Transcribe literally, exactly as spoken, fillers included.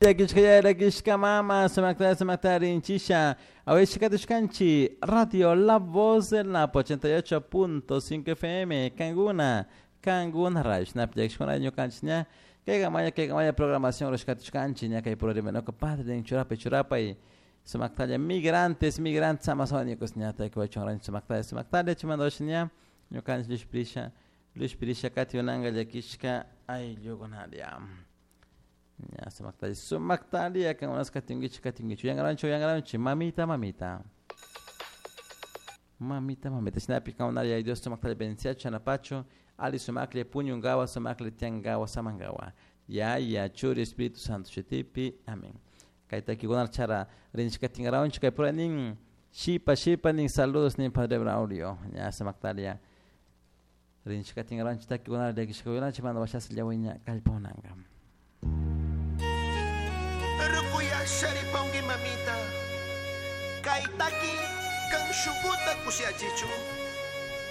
Llakishka mama, sumakta sumakta rinchisha. Awishkatushkanchi, Radio La Voz del Napo ochenta y ocho punto cinco F M, Kanguna, Kanguna Radio. Shnap llakishkuna ñukanchik ña. Kayka maya, kayka maya programación rushkatushkanchi ña kay puro rimanoka padre en churapa churapa y sumaktalla migrantes, migrantes amazónicos ña taykuwachun sumaktalla sumaktalla chimandosh ña ñukanchik lushpirisha, lushpirisha katiunanga llakishka ayllukunaria. Ya, sumaktalla, sumaktalla, kangunas katingichi, katingichi. Yangarancho, yangaranchi, mamita, mamita. Mamita, mamita. Shinapi kangunaria, ay Dios sumaktalla benenciacho, anapacho, ali sumakle puñungawa, sumakle tiangawa, samangawa. Ya, ya, churi, Espíritu Santo, shutipi, amén. Kaita kigunar chara, rinchika tingaraunchi, kay pura nin, shipa, shipa, nin saludos, nin Padre Braulio. Ya, sumaktalla. Rinchika tingaraunchi, takigunar, yakishka, manda washas llawiña, kallpaunanga. Sharipongi mamita, kaitaki kan shuguta kushiachichu.